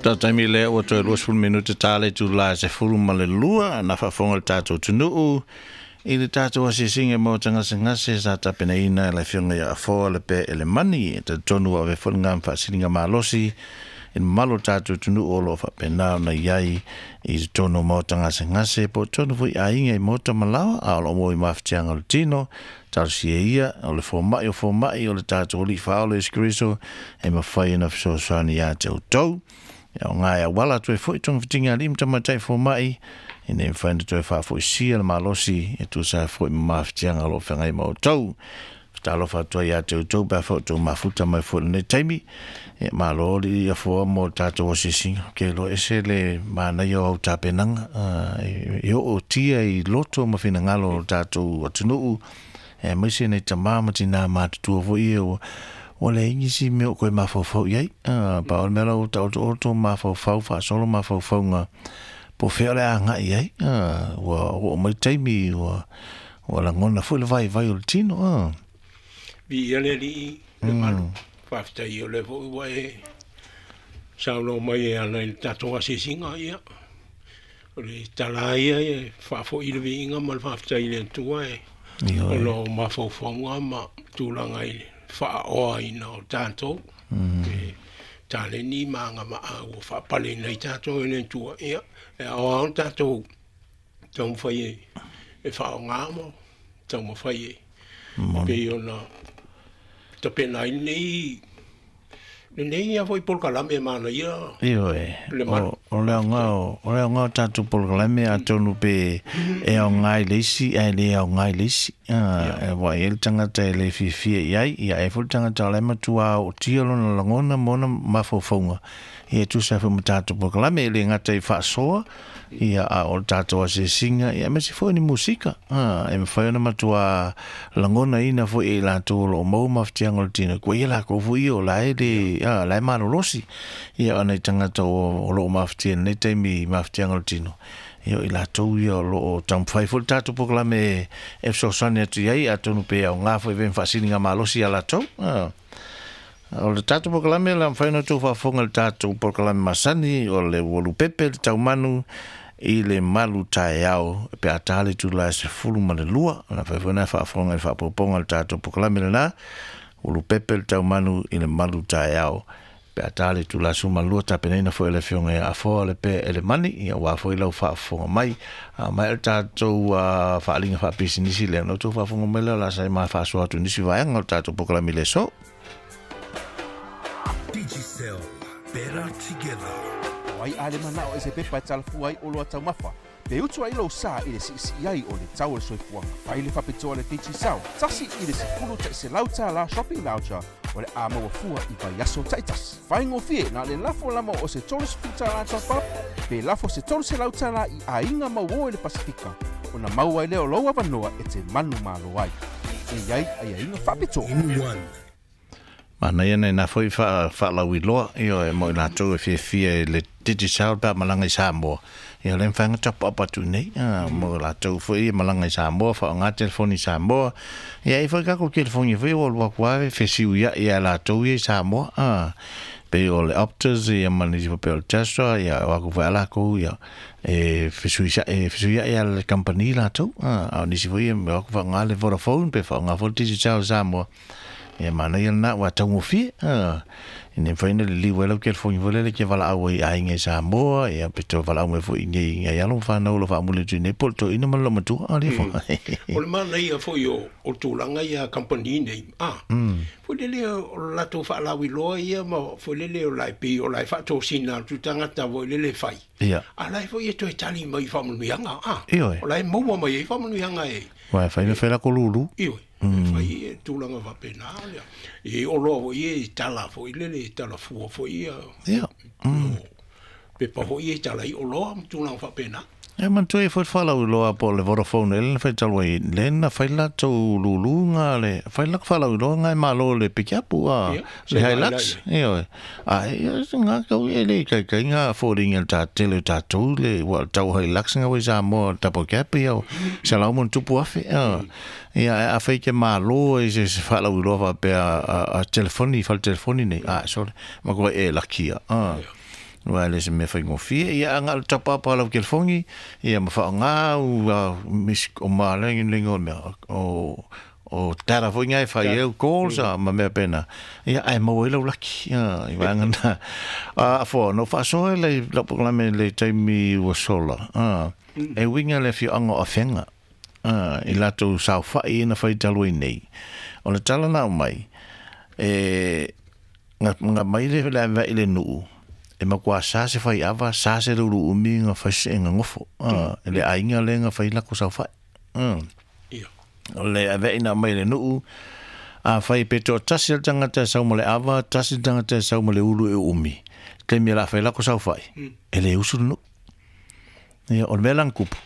Taimi lea ua toe 20 minute ta le itula e 12 na faafofoga le tatou atunuu i le tatou asiasiga mo tagasegase sa tapenaina e le afioga ia Afoa le Pe Elemani. E talitonu ua ave foi lena faasiliga malosi i le mamalu o le tatou atunuu o lo o faapena ona i ai i totonu o maota gasegase po o totonu foi i aiga i maota ma laoa, a o lo o maua i mafatiaga o le tino. Talosia ia o le fomai o fomai o le tatou Alii Faaola Iesu Keriso e mafai ona fesoasoani ia te outou. E aoga e auala atu ai foi togafitiga a alii ma tamaitai fomai ina ia mafai ona toe faafoisia le malosi e tusa ai foi ma mafatiaga o lo o feagai ma outou. Talofa atu ai ia te outou pe a foi outou mafuta mai foi i lenei taimi. E malo le Afoa mo le tatou asiasiga. Ou te iloa ese le manaia o au tapenaga. E oo tia i loto ma finagalo o le tatou atunuu, aemaise nai tama ma tina matutua foi ia ua leai nisi mea o toe mafaufau i ai. Pau o le mea la ua taotooto mafaufau faasolo mafaufauga po o fea o le a agai i ai. Ua oo mai taimi ua lagona foi le vaivai o le tino. Viia le Alii le malu. Faafetai o lea foi ua e saunoa mai e ala i le tatou asiasiga. Ia, o le tala ia e faafoi le viiga ma le faafetai i le Atua e ona o mafaufauga ma tulaga i le faaoaina o tatou. E taleni ma agavaa ua faapaleina ai tatou e le Atua. Ia, e aoao tatou taumafai e faaaoga ma taumafai e pei ona tapena ai lenei ia foi polokalame manaia. Ioe, o le aoga o tatou polokalame atonu pe e aoga i le isi ae le aoga i le isi. Ua i ai le tagata e le fiafia i ai, ia e foi le tagata o la e matua ootia lona lagona ma ona mafaufauga. Ia e tusa ai foi ma tatou polokalame, e le gata i faasoa, ia a o le tatou asiasiga, ia aemaise foi ni musika. E mafai ona matua lagonaina foi e i latou o lo o maua mafatiaga o le tino, kua ia lakou foi ia o la e le, la e malolosi. Ia o nai tagata o lo o mafatia i lenei taimi mafatiaga o le tino, ia o i latou ia o lo o taumafai foi le tatou polokalame e fesoasoani atu i ai, atonu pe aoga foi e faasiliga malosi ia latou. O le tatou polokalame la mafai ona outou faafofoga i le tatou polokalame masani o le ua lupepe le taumanu i le malu taeao pe a ta le itula e 12. Na mafai foi ona faafofoga i le faaopoopoga o le tatou polokalame lena, ua lupepe le taumanu i le malu taeao pe a ta le itula e 12, tapenaina foi e le afioga ia Afoa le Pe Elemani, ia aua foi lau faafofoga mai. Mai le tatou faaaliga faapisinisi lea, na outou faafofoga mai lea o le a saai ma faasoa atu i nisi vaega o le tatou polokalame i le aso. Digicel, better together. O ai a le manao e se pepa e talafua ai o loa taumafa, pe utu ai lou sa i le siisii ai o le tau o le soifuaga. Fai le faapitoa le Digicel, 1 i le 10 $100 shopping voucher o le a maua fua i vaiaso taitasi. Faigofie na le lafo lama o se $30 top up, pe lafo se $300 i aiga mauō i le Pasifika, ona maua ai lea o lou avanoa e te manu malo ai. E i ai aiaiga faapitoa. In one. Manaia nei nā foi faalauiloa, ioe, mo i latou e fiafia i le Digicel pe a malaga i Samoa. Ia o le mafai ona top up atu nei, mo i latou foi e malaga i Samoa, faaaoga telefoni i Samoa. Ia e i ai foi tatou telefoni foi ua alu atu lava fesiuiai ia latou ia i Samoa. Pei o le Optus ia ma nisi foi pei o le Telstra, ia o atu foi a latou ia e fesuiai lava le kamupani latou. A o nisi foi ia o atu faaaoga le Vodafone pe faaaoga foi le Digicel i Samoa. Ia manaia lena ua taugofie. Ina ia mafai ona liliu ai lau telefoni foi lele e te valaau ai i aiga i Samoa, ia pe toe valaau mai foi i nei nai alo ma fanau o lo o faamuli atu i nei po o le toeaina ma le loomatua. A lea foi. O le manaia foi o tulaga ia a kamupani nei, foi lele o le latou faalauiloa ia ma foi lele o la e pei o la e faatosina atu tagata foi lele e fai. A la e foi e toe tali mai i faamanuiaga, Ioe. O la e maua mai ai faamanuiaga e. Uae fai ma fai lako lulu. Ioe. E fai e tulaga faapena lea. E oloa foi e tala foi lele, e tala fua foi ia. Pepa foi e tala i oloa ma tulaga faapena. E manatua ia foi le faalauiloa po o le Vodafone ea na fai talu ai, lea na fai latou lulu nga le, fai lak faalauiloa nga e malo le pikiapu a le Hilux. Ioe. A ia se nga kau e le kaikai nga fōringa le tātele o tātou le, ua tau Hilux nga wai Samoa double cab ia o $100,000+. Ia a fai ke malo e se faalauiloa faapea a telefoni, fale telefoni nei. A, sorry. Ma koe e lakia. Ua le se mea faigofie ia aga le tapa pa lau telefoni ia ma faaaoga ua mis o ma le le o mea o tara foi ngai fai e calls a ma mea pena ia ai mo ai lau laki ia i vaega na a fo no faasoa le lau polokalame le taimi ua sola e uiga le afioaga o Afega i latou saofai na fai talu ai nei o le tala na aumai e nga mai le le ave i le nuu e matua sa se fai ava sa se le ulu umi nga fai se nga ngofo le aiga le nga fai lako saofai Ia. O le ave ina mai le nuu a fai pe to tasi le tagata e sau ma le ava tasi le tagata e sau ma le ulu e umi taimi e la fai lako saofai e le usu le nuu ia o le mea lana kupu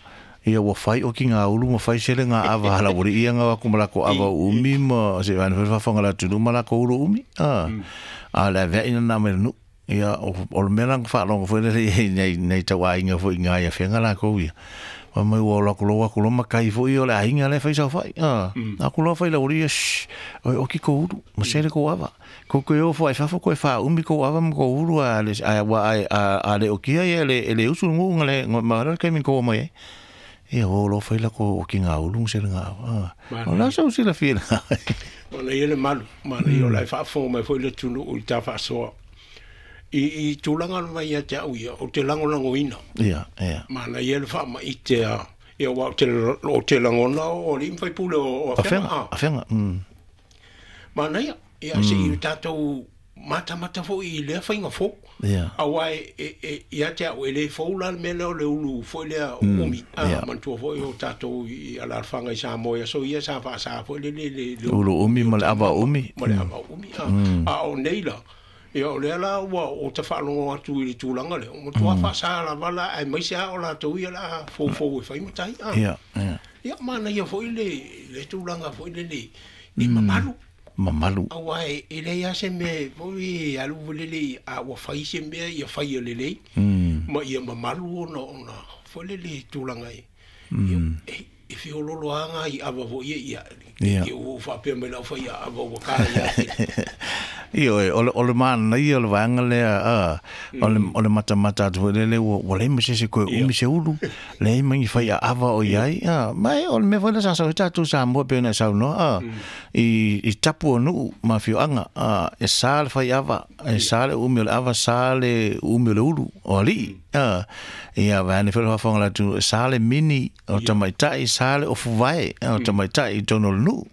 ia ua fai o ki ngā ulu ma fai sele ngā ava hala uri ia ngā aku ma lako ava umi ma se ane fai whawhanga la tunu ma lako ulu umi a le ave ina nā mai le nuu ia o le mea lana whaalonga foi le nei nei tau aiga foi ngā ia whenga lako ia ma mai ua lako loa aku loa makai foi o le aiga le fai saofai aku loa fai la uri ia shh oi oki ko ulu ma sele ko ava ko koe o fo ai fafo koe wha umi ko ava ma ko ulu a le a wa a le okia ia le le usu ngu nga le ma le kai min ko mai e ia o lo fai la ko ki ngā ulu se ngā ava o la sa usi la fia O le ia le malu, mana ia o lai faafofoga mai foi le atunuu i ta faasoa. I tulaga lava ia te au ia, o te lagolagoina. Ia ia Mana ia le faamaite a ia ua o te o te lagona o alii ma faipule o Afega Afega. Afega Mana ia, ia seʻi tatou matamata foi i lea faiga fou. Ia Auā e ia te au e lē fou la le mea lea o le ulu foi lea umi. Manatua foi o tatou i alalafaga i Samoa i aso ia sa faasā foi le le le ulu umi ma le ava umi ma le ava umi. A o nei la ia o lea la ua o tafaalogo atu i le tulaga lea o matuā faasā lava la aemaise a o latou ia la foufou e fai matai a ia ia ia manaia foi le tulaga foi lele e mamalu mamalu auā e leai a se mea foi e alu lele a ua fai se mea ia faia lelei ma ia mamalu ona foi lele tulaga e e e feololo aga i ava foi ia Ia. ia ua faapea mai lau fai ava ua ka ia Ia oe, o le mana ia o le vaega lea, o le matamata atu foi lele, ua leai ma se isi koe umi se ulu, leai ma ni fai ava o iai, ma e o le mea foi lea sa sau ai tatou Samoa pei ona e saunoa, i tapu o nuu ma afioaga, e sa le fai ava, e sa le umi o le ava, sa le umi o le ulu, o alii, ia vaeane foi le faafofoga le atunuu, e sa le mini o tamaitai, sa le ofuvae o tamaitai i totonu o le nuu,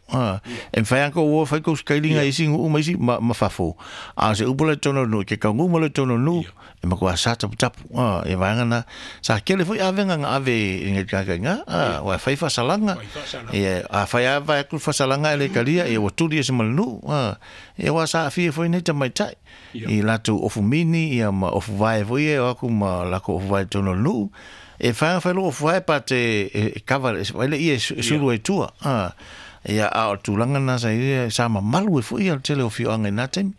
e mafai lava ona kou o fai kou sikailiga i isi nuu ma isi ma fafo, a o se upu la i totonu o le nuu, ke taugū mai loa i totonu o le nuu, e matua sa taputapu, ia vaega na, sa kele foi avega na ave i ngai tagata ua e fai faasalaga, Fai faasalaga. ia a fai lava vae atu le faasalaga e le kalia, ia ua tuli ese ma le nuu, ia ua sa aafia foi nei tamaitai, i latou ofu mini, ia ma ofu vae foi ia, o aku ma lakou ofu vae i totonu o le nuu, e fai fai lou ofu vae pa te e kava e le ia e sulu ai tua, ia a o le tulaga na sa ia sa mamalu ai foi ia le tele o afioaga i na taimi.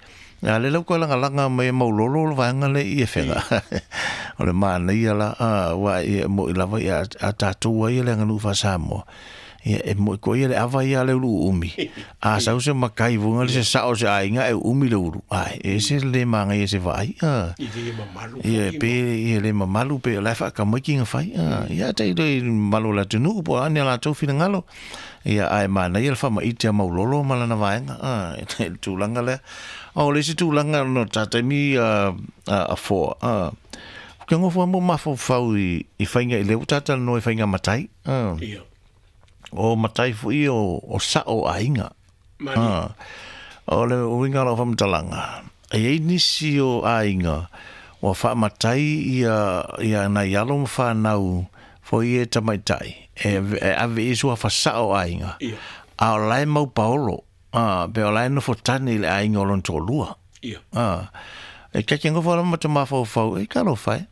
A le lau koe lagalaga mai e maulolo le vaega le i e fega. O le manaia la, ua ia moʻi lava ia a tatou ai le aganuu faa-Samoa. Ia e moʻi koe ia le ava ia a le ulu umi. A sau se makai vuga le se sao se aiga e umi le ulu. Ai, e se le magaia se vaai. I le mamalu Ia foi pe ia le mamalu pe o la e faakamaiki ga fai. Ia tai le malo o le atunuu po o a ni a latou finagalo. Ia ae manaia le faamaite a maulolo ma lana vaega. Le tulaga lea. O le isi tulaga no tataimi a foa. Ke ngofo mo mafaufau i faiga i le ua tatalanoa i faiga matai. Ia. O matai foi o sao aiga. Mani. O le uiga o lau faamatalaga, e iai nisi o aiga ua faamatai ia ia nai alo ma fanau foi e tamaitai e e ave i sua fasao aiga. Ia. A o lae mau paolo, pe o lae nofo tane i le aiga o lona toalua. Ia. E keke ngofo lava ma te mafaufau, e talofa e.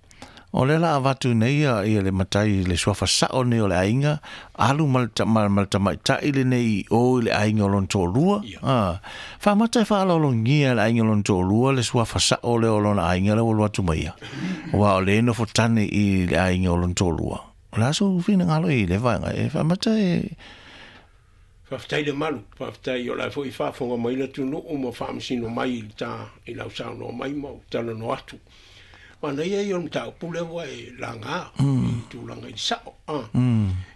O le la avatu nei ia, ia le matai le suafa sao nei o le aiga, alu ma le ma le tamaitai lenei i o i le aiga o lona toalua. Ia. Faamata e faaaloalogia le aiga o lona toalua le suafa sao lea o lona aiga lea ua alu atu mai ia. Aua o le nofo tane i le aiga o lona toalua. O le aso finagalo i le vaega e faamata e Faafetai le malu, faafetai o la e foi faafofoga mai le atunuu ma faamasino mai i le ta i lau saunoa mai ma ou talanoa atu. Manaia ia o le mataupu lea ua e laga i tulaga i le sa'o a.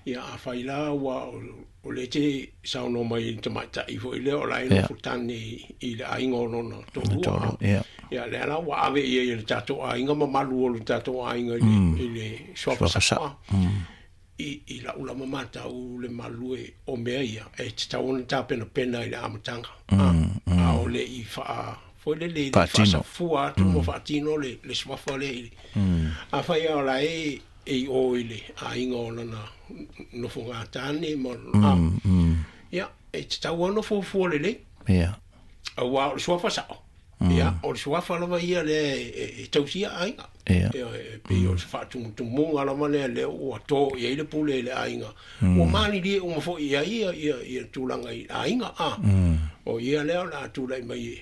Ia afai la ua o lea e te saunoa mai i le tamaitai foi lea o la e nofo tane i le aiga o lona toalua a. Ia lea la ua ave i ai e le tatou aiga mamalu o le tatou aiga i le suafa sa'o a. I la'u lava matau le malu e o mea ia e tatau ona tapenapena i le amataga a, a o le i faa foi lele i le faasafua atu ma faatino le suafa lea i afai lava o la e i o i le aiga o lana nofogatane ma a, ia e tatau ona fuafua lelei. Auā o le suafa sa'o, ia o le suafa lava ia lea e tausia aiga. Ia e pei o se faatumutumuga lava lea lea ua to i ai le pule i le aiga. Ua malilie uma foi i ai ia tulaga i aiga a. O ia lea o le a tulai mai e.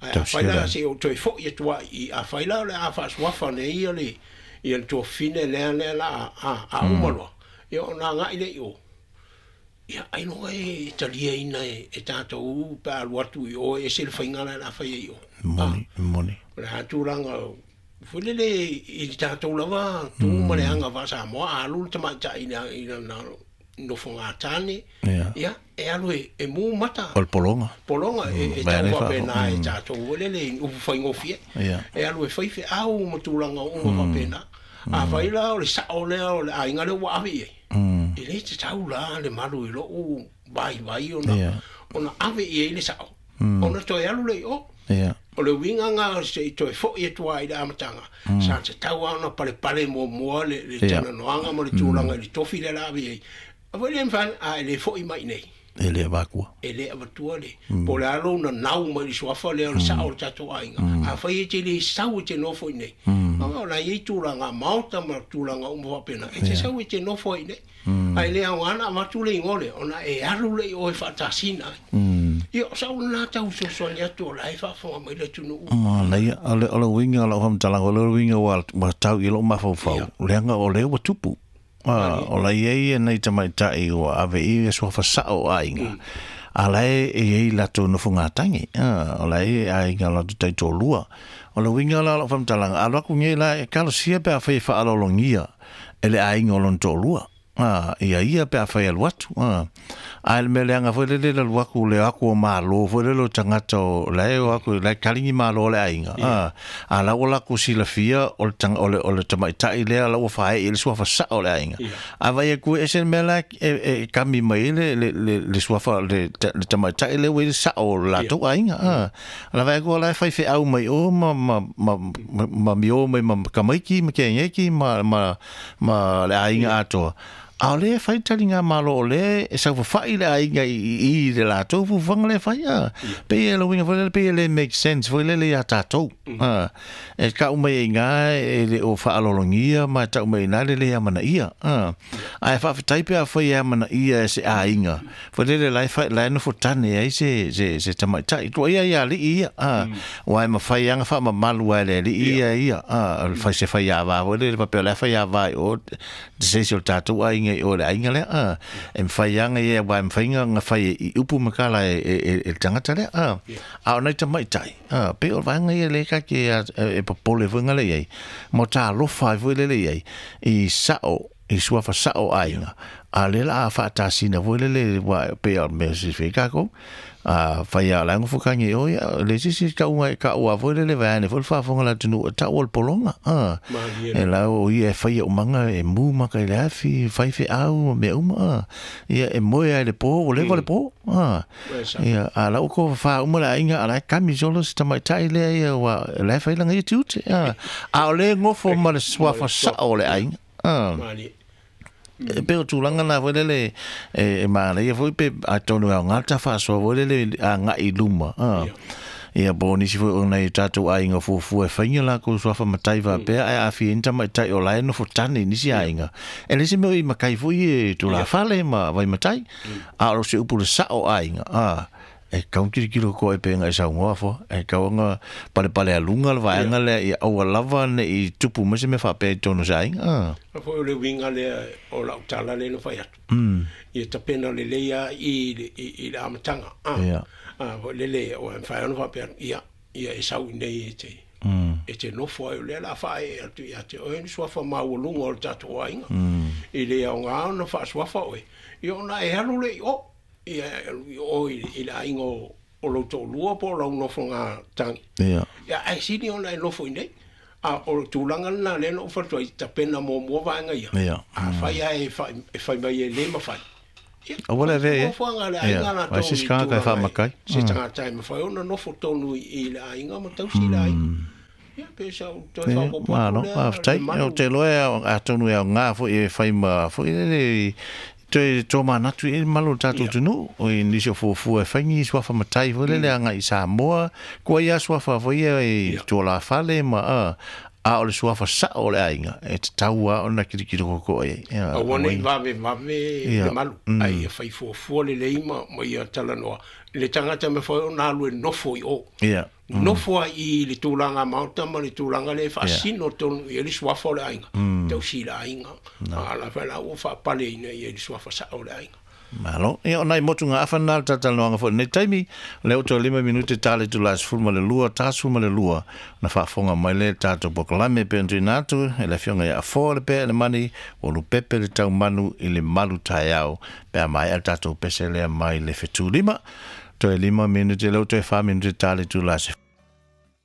Ae afai la se i ou toe foi atu ai i afai la o le a faasuafa nei ia le ia le tuafafine lea lea la a a uma loa, ia ona agai lea i o. Ia, ailoga e taliaina e tatou pe a alu atu i o e ese le faiga la e fai ai i o. Moni, moni. O le a tulaga foi lele i le tatou lava tu ma le aga faa-Samoa, a alu le tamaitai i lana nofoga tane, ia, e alu e mu mata. O le pologa. Pologa, e tau faapena e tatou foi lele i upu faigofie. E alu e fai feau ma tulaga uma faapena. Afai la o le sa'o lea o le aiga lea ua ave i ai, e le tatau la le malu i lo'u vaivai ona ave i ai le sa'o, ona toe alu lea i o. O le uiga lena se i toe fo'i atu ai i le amataga, sa tatau lava ona palepale muamua le talanoaga ma le tulaga i le tofi lea la ave i ai. A foi le mafai, a e le fo'i mai i nei. E le avatua. E le avatua le, po o le a lou nanau mai le suafa lea o le sa'o o le tatou aiga. Afai e te le sau e te nofo i inei, o la e i ai tulaga maota ma tulaga uma faapena, e te sau e te nofo ai i inei. Ae le aoga ona avatu le igoa lea, ona e alu lea i o e faatasina ai. Ia, o sau lena tau fesoasoani atu o la e faafofoga mai le atunuu. Manaia, o le uiga o lau faamatalaga, o le uiga ua tau i lou mafaufau, leaga o lea ua tupu. O la e i ai nai tamaitai ua ave i ia suafa sa'o o aiga, a la e i ai latou nofogatagi, o la e i ai aiga o latou taitoalua. O le uiga la o lau faamatalaga, a alu atu nei la e talosia pe afai e faaaloalogia e le aiga o lona toalua, ia ia pe afai e alu atu. Ae le mea leaga foi lele le alu atu le o atu o malo foi lele o tagata o la e o atu la e kaligi malo le aiga. A la ua latou silafia o le o le tamaitai lea la ua faaee i le suafa sa'o o le aiga. A vaai atu e ese le mea la e kami mai ai le suafa le tamaitai lea ua i le sa'o o le latou aiga. A la vaai atu la e fai feau mai o ma ma ma ma mio mai ma tamaiti ma keneki ma ma ma le aiga atoa. A o lea e fai taligamalo o lea e saofafai le aiga i le latou fuafuaga lea e fai a. Pei e le uiga foi lele, pei e le make sense foi lele ia tatou. E tau mai ai i ina e le o faaaloalogia ma e tau mai ai i ina le le amanaia. Ae faafetai pe afai e amanaia e se aiga foi lele la e la e nofo tane ai se tamaitai. Tuuaia ia alii ia, aua e mafai lava ona faamamalu lava e le alii ia ia, fai se faiava foi lele faapea o le a faiava i o se isi o le tatou aiga i o i le aiga lea, a. E mafai lava ona ia aua e mafai ona fai i upu ma tala e le tagata lea, a. A o nai tamaitai, a, pei o le vaega ia lea ta te e popole foi gale i ai, ma talofa ai foi lele i ai, i sa'o, i suafa sa'o o aiga, a o lea o le a faatasina foi lele, aua pei lava o le mea e silafia ai tatou, a fai lava o la e nofo tagi i o, ia, e leai se isi tauga e taua foi lele vaeane foi le faafofoga a le atunuu e tau o le pologa, a. E la o ia e faia umaga e mu maka i le afi, fai feau ma mea uma, a. Ia e moe lava i le po, ua leva le po, a. Ia, a la ua tofafa uma le aiga, a o la e kami solo si tamaitai lea ia, aua o la e fai lana ia tiute, a. A o lea e nofo ma le suafa sao o le aiga, a. E pei o tulaga na foi lele e manaia foi pe atonu e aoga le ta faasoa foi lele agai i luma, a. Ia po o nisi foi o nai o tatou aiga fuafua e fai ni o latou suafa matai faapea ae aafia ai ni tamaitai o la e nofo tane i nisi aiga. E leai se mea o i matai foi e tulafale ma vaimatai, a o se upu le sa'o o aiga, a. E tatau ona tilotilo koe pe na e saunoa foa, e tatau ona palepale aluga le vaega lea ia aua lava ne i tupu mai se mea faapea i totonu o se aiga, a. A foi o le uiga lea o lau tala lea na fai atu, ia tapena lelei lava i le amataga, a. A foi lele, ua mafai ona faapea atu, ia, ia e sau i inei e te. E te nofo ai o lea o le a faaee atu ia te oe ni suafa maualuga o le tatou aiga. E le aoga ona faasuafa oe, ia ona e alu lea i o, ia e alu i o i le aiga o lou toalua po o lau nofoga tagi. Ia, ae sili ona e nofo i inei. A o le tulaga lena lea na ou fai atu ai, tapena muamua vaega ia. Afai lava e fai mai e le mafai, ia, Aua le avea i ai. Nofoaga a le aiga latou Ai se isi tagata e faamatai. Se tagata e mafai ona nofo tonu i le aiga ma tausi le aiga. Ia, pe sa ou toe faaopoopo atu Malo, lea, faafetai. le malu. Ou te iloa atonu e aoga foi e fai ma foi lele toe tomanatu i ai le malu o le tatou atunuu. O i nisi o fuafua e fai ni suafa matai foi lele agai i Samoa, kua ia suafa foi ia i tualafale ma a o le suafa sao o le aiga e tatau lava ona kilikili koko i ai. Ia, Aua ne i aua vavevave le malu, ae ia fai fuafua lelei ma ia talanoa. Le tagata e mafai ona alu e nofo i o. Nofo ai i le tulaga maota ma le tulaga lea e faasino tonu i ai le suafa o le aiga. Tausi i le aiga. A la fai la ua faapaleina i ai le suafa sao o le aiga. Malo. Ia, o nai motuga afa na le talatalanoaga foi i lenei taimi. O lea ua toe 5 minute ta le itula e 12, 42, na faafofoga mai lea i le tatou polokalame pei ona tuuina atu e le Afioga ia Afoa Lepea Elemani, ua lupepe le taumanu i le malu taeao pe a maea le tatou pese lea mai le fetulima. Toe 5 minute, lea ua toe 4 minute ta le itula e